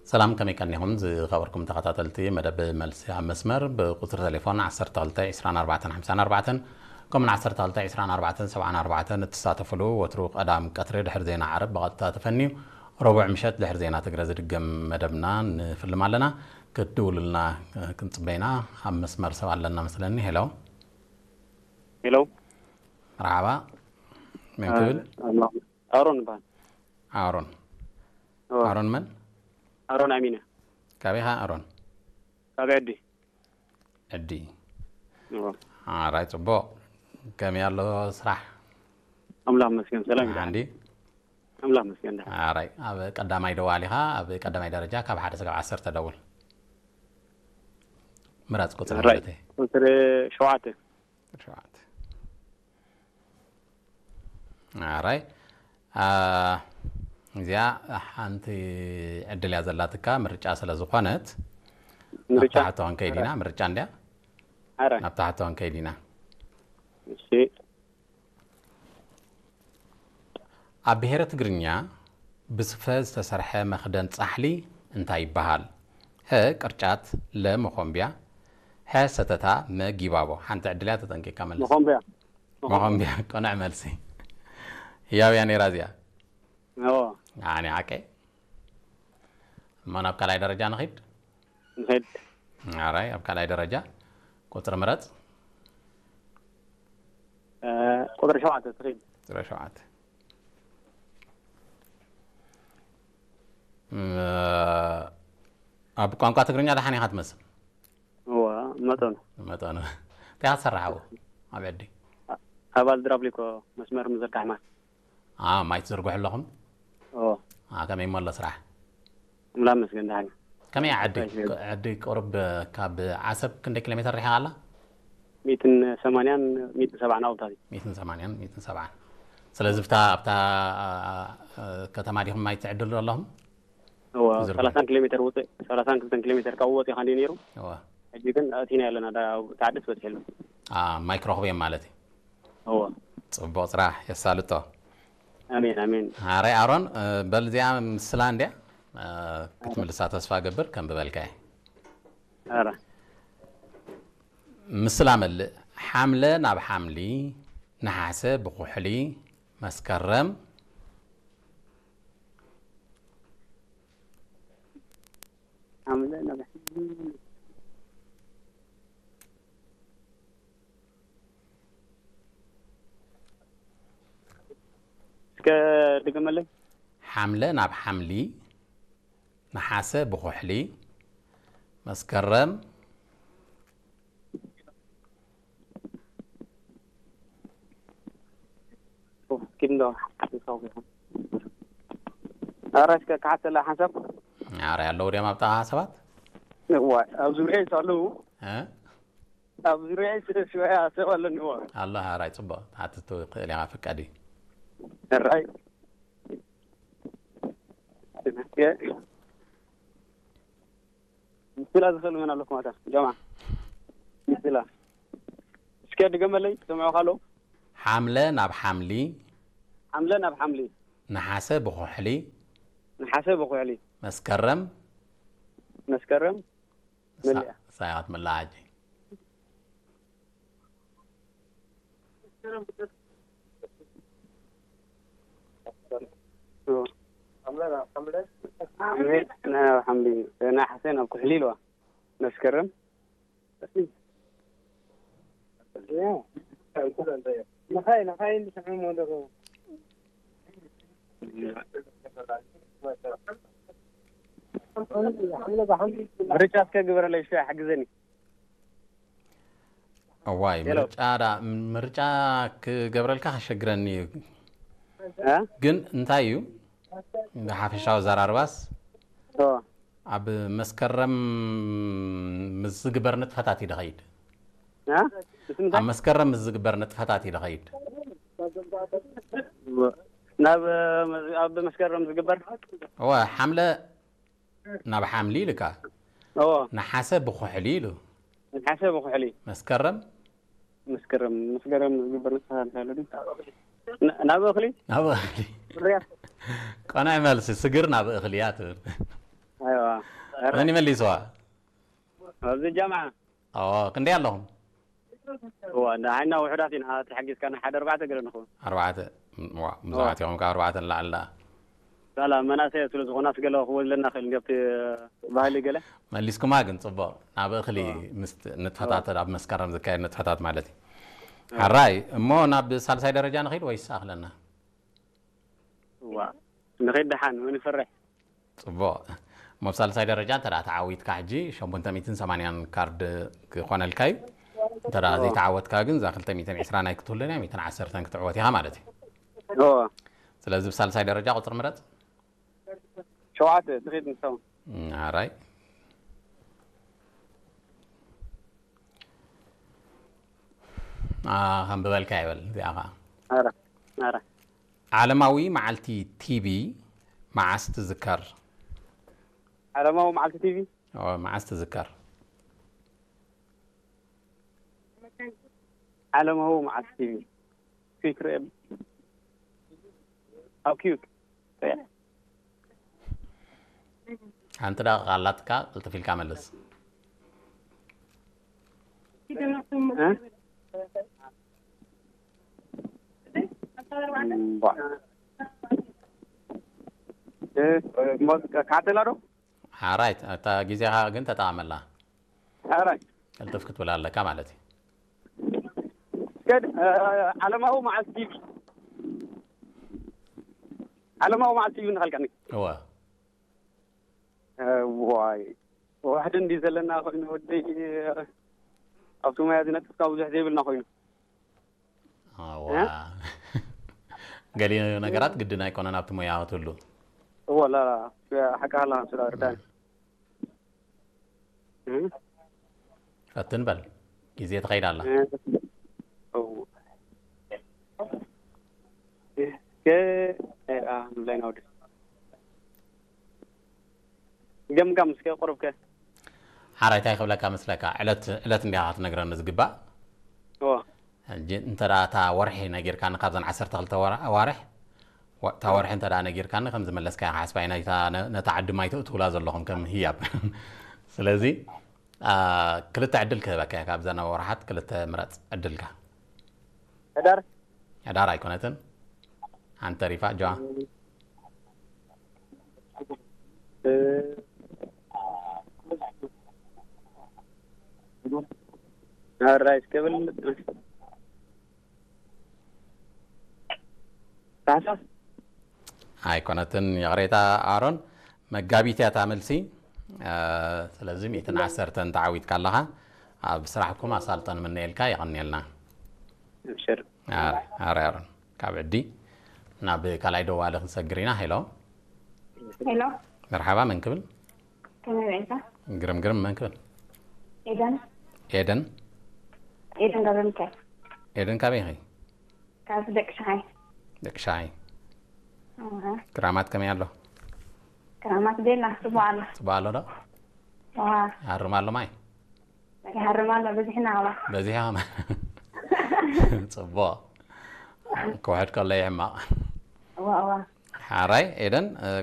ሰላም፣ ከመይ ቀኒኹም ዝኸበርኩም ተኸታተልቲ መደብ መልሲ ኣብ መስመር? ብቁጽሪ ቴሌፎን ዓሰርተ ክልተ ዕስራን ኣርባዕተን ሓምሳን ኣርባዕተን ከምኡን ዓሰርተ ክልተ ዕስራን ኣርባዕተን ሰብዓን ኣርባዕተን እትሳተፍሉ፣ ወትሩ ቀዳም ቀትሪ ድሕሪ ዜና ዓረብ ብቐጥታ ተፈንዩ፣ ረቡዕ ምሸት ድሕሪ ዜና ትግረ ዝድገም መደብና ንፍልም ኣለና። ክትድውሉልና ክንጽበይና። ኣብ መስመር ሰብ ኣለና መስለኒ። ሄሎ። ሄሎ። መርሓባ። መን ክብል? ኣሮን ይበሃል። ኣሮን። ኣሮን መን? ኣሮን ኣሚነ። ካበይ ኢኻ ኣሮን? ካበይ? ዕዲ። ዕዲ። ኣራይ፣ ጽቡቕ። ከመይ ኣሎ ስራሕ? ኣምላኽ መስገን ሰላም ይበሃል። ሓንዲ። ኣምላኽ መስገን ደሓን። ኣራይ፣ ኣብ ቀዳማይ ደዋል ኢኻ። ኣብ ቀዳማይ ደረጃ ካብ ሓደ ስጋብ ዓሰርተ ደውል። ምራጽ ቁጽሪ ኣራይ። ማለት እዩ። ቁጽሪ ሸውዓተ። ሸውዓተ። ኣራይ። አ፣ እዚኣ ሓንቲ ዕድል እያ ዘላትካ፣ ምርጫ ስለ ዝኾነት። ምርጫ? ናብታ ሕቶ ክንከይድ ኢና፣ ምርጫ እንድያ። ኣራይ። ናብታ ሕቶ ክንከይድ ኢና። እሺ። ኣብ ብሄረ ትግርኛ ብስፈ ዝተሰርሐ መኽደን ጻሕሊ እንታይ ይበሃል? ሀ ቅርጫት፣ ለ መኾምቢያ፣ ሐ ሰተታ፣ መ ጊባቦ። ሓንቲ ዕድል እያ፣ ተጠንቂቕካ መልስ። መኾምቢያ። መኾምቢያ። ቅኑዕ መልሲ። ህያው እያ ነይራ እዚኣ። ኦ። ኣነ ሓቀይ። እሞ ናብ ካልኣይ ደረጃ ንኺድ። ንኸይድ። ኣራይ፣ ኣብ ካልኣይ ደረጃ ቁጽሪ ምረጽ። እ፣ ቁጽሪ ሸውዓተ ትኸይድ። ቁጽሪ ሸውዓተ። እ፣ ኣብ ቋንቋ ትግርኛ ደሓን ኢኻ ትመስል። እዋ፣ መጠኑ። መጠኑ። እንታይ ኢኻ ትሰርሕ ኣብኡ? ኣብ ዕዲ? ኣባል ድራብሊኮ መስመር ምዝርጋሕ ማይ። አ፣ ማይ ትዝርግሑ ኣለኹም? ኦ። አ፣ ከመይ እሞ ኣሎ ስራሕ? ኣምላኽ መስገን ደሓን። ከመይ እያ ዓዲ? እንታይ ይብል? ዓዲ ቁሩብ ካብ ዓሰብ ክንደይ ኪሎ ሜትር ርሒቓ ኣላ? ሚእትን ሰማንያን ሚእትን ሰብዓን ኣብታት እዩ። ሚእትን ሰማንያን፣ ሚእትን ሰብዓን። ስለዚ ብታ፣ ኣብታ፣ አ፣ አ፣ ከተማ ዲኹም ማይ ትዕድሉ ኣለኹም? እዋ፣ ዝርግሑ። ሰላሳን ኪሎ ሜትር ውፅእ፣ ሰላሳን ክልተን ኪሎ ሜትር ካብኡ ወፂኻ እንዲዩ ነይሩ። እዋ። ሕጂ ግን ኣቲና ኣለና፣ ዳ-፣ ተዓደስ በፂሑ ኣሎ። አ፣ ማይ ክረኽቡ እዮም ማለት እዩ። እዋ። ጽቡቕ ስራሕ፣ የሳልጦ። ኣሜን፣ ኣሜን። ኣራይ ኣሮን፣ እ፣ በል እዚኣ ምስላ እንድያ፣ እ፣ ክትምልሳ ተስፋ ገብር፣ ከም ብበልካ እየ። ኣረ። ምስላ መልእ፣ ሓምለ ናብ ሓምሊ፣ ነሓሰ ብኩሕሊ፣ መስከረም። ሓምለ ናብ እስከ ድገመለይ። ሓምለ ናብ ሓምሊ፣ ነሓሰ ብኩሕሊ፣ መስከረም። ኪድ እንዶ ሓሳብ። ኣረ እስከ ክሓተላ ሓንሳብ። ኣረ ኣለዉ ድዮም ኣብታ ሰባት? እዋይ፣ ኣብ ዙርያ ኣለዉ። እ? ኣብ ዙርያ ሽወያ ሰብ ኣለኒ። እዋ። ኣሎ፣ ኣራይ ጽቡቕ። ትሓትት ትኽእል ኢኻ፣ ፍቃድ እዩ። ኣራይ። ምስላ ዝኽእል መን ኣለኩም ኣታ? ጀማ። ምስላ። እስከ ድገመለይ፣ ሰምዑ ካሎ። ሓምለ ናብ ሓምሊ። ሓምለ ናብ ሓምሊ። ነሓሰ ብኩሕሊ። ነሓሰ ብኩሕሊ። መስከረም። መስከረም። መሊኣ። ሳያት መላሓጂ። ኦ። ሓምለ ናብ ሓምሊ፣ ነሓሰ ናብ ኩሕሊ ኢልዋ። መስከረም። ንኻይ፣ ንኻይ እንድስዕሞ ደረው። ምርጫ እስከ ግበረለይ፣ እስከ ሓግዘኒ። እዋይ፣ ሄሎ። ምርጫ ዳ-፣ ምርጫ ክገብረልካ ከሸግረኒ እዩ። እ? ግን እንታይ እዩ? ብሓፈሻዊ ዘራርባስ ኦ። ኣብ መስከረም ምስ ዝግበር ንጥፈታት እዩ ድኸይድ። እ? ምስ ምንታይ? ኣብ መስከረም ምስ ዝግበር ንጥፈታት እዩ ድኸይድ። ናብ፣ ኣብ መስከረም ዝግበር? እወ፣ ሓምለ ናብ ሓምሊ ኢልካ። እዎ። ነሓሰ ብኩሕሊ ኢሉ። ነሓሰ ብኩሕሊ። መስከረም? መስከረም፣ መስከረም ዝግበር ንጥፈታት ኣሎ ድዩ? ን-፣ ናብ እኽሊ? ናብ እኽሊ። ፍርያት? ቀናይ መልሲ፣ ስግር ናብ እኽሊ እያ ትብል። ኣይዋ። ኧረ፣ መን ይመሊስዋ? ኣብዚ ጃምዓ። ኦ፣ ክንደይ ኣለኹም? እዋ፣ ንዓና ውሑዳት ኢና። ተሓጊዝካና ሓደ ኣርባዕተ ገለ ንኸውን። ኣርባዕተ። ዋ፣ ብዙሓት ኢኹም፣ ካብ ኣርባዕተ ንላዕሊ ደኣ። ሳላ መናእሰይ ስለ ዝኾናስ ገለ ክወዝለና ክእል እንዲዮ ኣብቲ ባህሊ ገለ። መሊስኩማ ግን ጽቡቕ። ናብ እኽሊ ምስ ንጥፈታት፣ ኣብ መስከረም ዝካየድ ንጥፈታት ማለት እዩ። ሓራይ፣ እሞ ናብ ሳልሳይ ደረጃ ንኸይድ ወይስ ኣኽለና? እዋ፣ ንኸይድ ደሓን፣ መን ይፈርሕ? ጽቡቕ። እሞ ኣብ ሳልሳይ ደረጃ እንተ ደኣ ተዓዊትካ ሕጂ ሸሞንተ ሚእትን ሰማንያን ካርድ ክኾነልካ እዩ። እንተ ደኣ ዘይተዓወትካ ግን እዛ ክልተ ሚእትን ዕስራን ኣይክትህሉን እያ፣ ሚእትን ዓሰርተን ክትዕወት ኢኻ ማለት እዩ። እዋ፣ ስለዚ ብሳልሳይ ደረጃ ቁጽሪ ምረጽ። ሸውዓተ፣ ትኸይድ ንሳውን። ሓራይ። ኣ፣ ከንብበልካ ይበል እዚኣ ኸዓ። ኣረ፣ ኣረ። ዓለማዊ መዓልቲ ቲቢ መዓስ ትዝከር? ዓለማዊ መዓልቲ ቲቢ? ኦ፣ መዓስ ትዝከር? ዓለማዊ መዓልቲ ቲቢ። ፊክሪ ኣብ ኪዩክ። ሓንቲ ደቂቃ ኣላትካ፣ ቅልጥፍ ኢልካ መልስ። እ? እምቧ። እ፣ ሞ-፣ ካተላ ዶ? ሓራይ፣ እታ ግዜኻ ግን ተጠቐመላ። ሓራይ። ቅልጥፍ ክትብል ኣለካ ማለት እዩ። ከድ፣ እ፣ ዓለማዊ መዓልቲ ቲቪ። ዓለማዊ መዓልቲ ቲቪ ንኸልቀኒ። እወ። እ፣ ዋይ። ዋሕዲ እንዲ ዘለና ኮይኑ ወደይ፣ ኣብቲ ሞያ ዝነጥፍካ ብዙሕ ዘይብልና ኮይኑ። ኣዋ። ገሊኡ ነገራት ግድን ኣይኮነን ኣብቲ ሞያ ክትህሉ። እወ፣ ላ፣ ላ፣ ሓቂ ኣላ፣ ስለ ርዳን። እ? ፈትን በል። ግዜ ትኸይድ ኣላ። እ፣ እው። እስከ፣ እ፣ ኣ፣ ምብላይ ናውዲ። ገምጋም እስከ፣ ቁሩብ ከ። ሓራይ እንታይ ክብለካ መስለካ? ዕለት፣ ዕለት እንዲኻ ክትነግረኒ ዝግባእ። እወ። ሕጂ እንተ ደኣ እታ ወርሒ ነጊርካኒ፣ ካብዘን ዓሰርተ ክልተ ወራ-፣ ኣዋርሕ፣ ወ-፣ እታ ወርሒ እንተ ደኣ ነጊርካኒ፣ ከም ዝመለስካያ ክሓስባ ኢና። እታ ነ-፣ ነታ ዓዲ ማይ ተእትውላ ዘለኹም ከም ህያብ። ስለዚ፣ ኣ፣ ክልተ ዕድል ክህበካ እየ፣ ካብዘን ወርሓት ክልተ ምረጽ ዕድልካ። ሕዳር? ሕዳር ኣይኮነትን። ሓንቲ ተሪፋ፣ ጆዋ። እ፣ ሕራይ እስከ በል። ታሕሳስ? ኣይኮነትን፣ ይቕሬታ ኣሮን። መጋቢት እያ እታ መልሲ። እ፣ ስለዚ ሚእትን ዓሰርተን ተዓዊትካ ኣለኻ። ኣብ ስራሕኩም ኣሳልጦ ንምነየልካ፣ የቐንየልና። ኣብሽር። ኣረ፣ ኣረ፣ ኣረ። ካብ ዕዲ ናብ ካልኣይ ደዋሊ ክንሰግር ኢና። ሄሎ። ሄሎ፣ መርሓባ፣ መን ክብል? ከመይ ውዒልካ? ግርም፣ ግርም፣ መን ክብል? ኤደን። ኤደን። ኤደን ገብረ ሚካኤል። ኤደን፣ ካበይ ኢኺ? ካብ ደቂ ሸሓይ። ደቂ ሸሓይ። ኣሃ። ክራማት ከመይ ኣሎ? ክራማት ቤላ፣ ጽቡቕ ኣሎ። ጽቡቕ ኣሎ ዶ? ዋ፣ ይሃርም ኣሎ ማይ? ይሃርም ኣሎ፣ በዚሕና ኣዋ። በዚሕና። ጽቡቕ። ክውሕድ ከሎ ይሕማቕ። እዋ፣ እዋ። ሓራይ ኤደን፣ እ፣